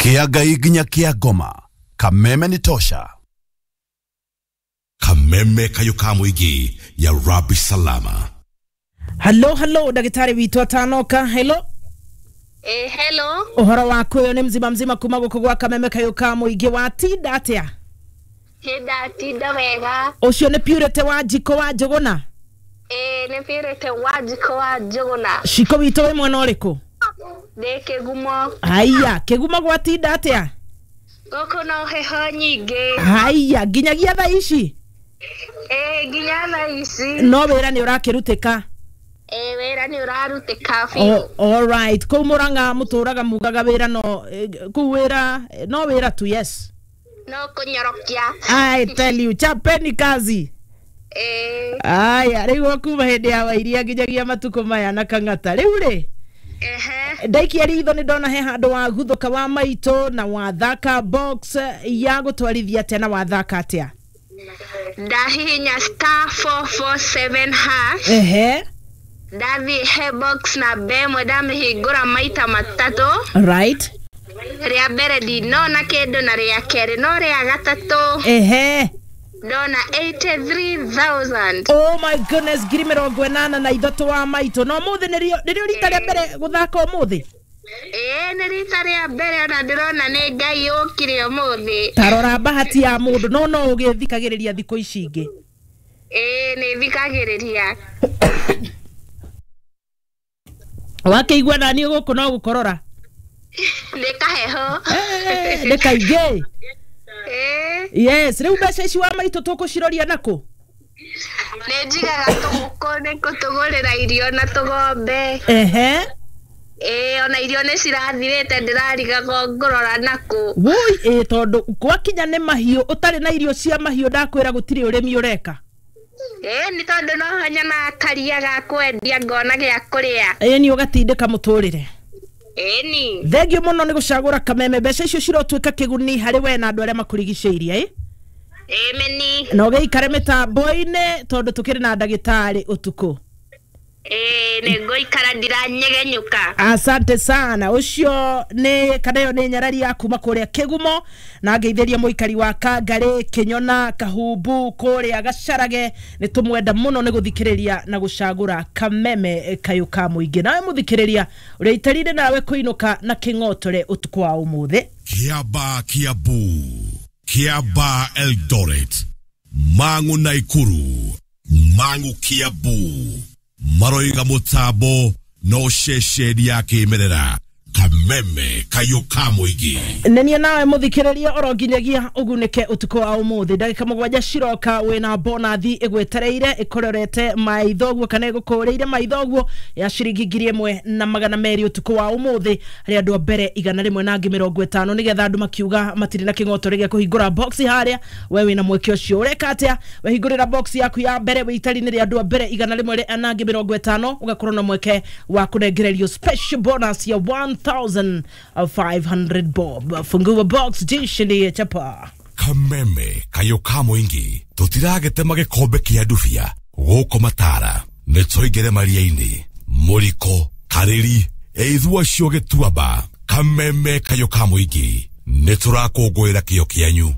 Kia Ngai nginya kia ngoma. Kameme ni tosha. Kameme kayo ka mũingĩ ya Rabi Salama. Hello, hello, ndagĩtarĩ witũ atanoka. Hello. Hello. Ũhoro waku ũyũ nĩ mzima mzima kuma gũkũ gwa Kameme kayo ka mũingĩ. Watinda atĩa? Ndatinda wega. Ũcio nĩ Purity wa Njiko wa Njũgũna? Nĩ Purity wa Njiko wa Njũgũna. Ciko witũ wĩ mwena ũrĩkũ? Ndĩ Kĩgumo. Haiya, Kĩgumo gwatinda atĩa? Gũkũ no heho nyingĩ. Haiya, nginyagia thaa ici? Nginya thaa ici. No wĩra nĩ ũrakĩrutĩka? Wĩra nĩ ũrarutĩka biũ. All right. Kũu Mũrang'a mũtũraga mugaga wĩra no kũu wĩra no wĩra tu, yes. No kũnyorokia. I tell you, chapeni kazi. Aya, rĩu kuma hĩndĩ ya Wairia nginyagia matukũ maya na Kang'ata. Rĩu rĩ, ndaikia ritho nĩ ndona he handũ wa guthũka wa maitũ na wathaka box ya gũtwarithia atĩa na wathaka atĩa? Ndahihinya star 447 hash. Ehe. Ndathiĩ he box namba ĩmwe ndamĩhingũra maita matatũ. Right. Rĩa mbere ndinona kĩndũ na rĩa kerĩ no rĩa gatatũ. Ehe. Ndona 83,000. Oh my goodness, 83,000 wa maitũ. No mũthĩ nĩrĩo rita rĩa mbere gũthaka ũmũthĩ? Nĩ rita rĩa mbere ona ndĩrona nĩ Ngai ũkire ũmũthĩ. Ta rora bahati ya mũndũ, no no ũgĩthikagĩrĩria thikũ ici ingĩ. Nĩ thikagĩrĩria. Wakĩigua naniĩ gũkũ no gũkorora? Nĩ kaheho. Nĩ kaingĩ. Yes, rĩu mbeca ici wa maitũ tũkũciroria nakũ? Nĩ njigaga tũgũkũ nĩ kũtũgũrĩra irio na tũgombe. Ehe. Ona irio nĩ cirathirĩte ndĩrarigagwo ngũrora nakũ. Woi, tondũ gwakinya nĩ mahiũ ũtarĩ na irio cia mahiũ ndakwĩra gũtirĩ ũrĩmi ũreka. Nĩ tondũ no nyonaga karia ga kwendia ngona gĩa kũrĩa. Nĩ ũgatindĩka mũtũrĩre. Ĩni. Thengio mũno nĩ gũcagũra Kameme. Mbeca icio cirotuĩka kĩguni harĩ we na andũ arĩa makũrigicĩirie. Ĩmeni. Na ũgĩikare mĩtambo-inĩ tondũ tũkĩrĩ na ndagĩtarĩ ũtukũ. Nĩ ngũikara ndiranyegenyũka. Asante sana. Ũcio nĩ kana ĩyo nĩ nyarari ya kuma kũrĩa Kĩgumo na ngeithĩria mũikari wa Kangarĩ, Kĩnyona, Kahumbu kũrĩa Gacarage. Nĩ tũmwenda mũno nĩ gũthikĩrĩria na gũcagũra Kameme kayũ ka mũingĩ. Nawe mũthikĩrĩria ũrĩa itarire nawe kũinũka na kĩng'otore ũtukũ wa ũmũthĩ. Kiaba Kiambu, Kiaba Eldoret, Mang'u Naikuru, Mang'u Kiambu, maroiga mũtambo no ceceni ya kĩmerera. Kameme kayo ka mũingĩ. Nenie nawe mũthikĩrĩria oro nginyagia ũgunĩke ũtukũ wa ũmũthĩ. Ndagĩka 7 ciroka wĩna bonathi ĩgwetereire ĩkũrorete maitho ũguo kana ĩgũkũrĩire maitho ũguo ya ciringi 1,200 ũtukũ wa ũmũthĩ harĩ andũ a mbere 150 nĩgetha andũ makiuga matirĩ na kĩng'oto gĩa kũhingũra box harĩa. We wĩna mweke ũcio ũreka atĩa? Wehingũrĩra box yaku ya mbere wĩ itari-inĩ rĩa andũ a mbere 150 ũgakorwo na mweke wa kũnengererio special bonus ya 1,500 bob. Fungua box jishindie chapa. Kameme kayo ka mũingĩ tũtiragetema gĩkombe kĩa ndubia gũkũ Matara nĩ tũingĩre maria-inĩ mũriko karĩri ĩithua cio gĩtuamba. Kameme kayo ka mũingĩ nĩ tũrakũngũĩra kĩo kĩanyu.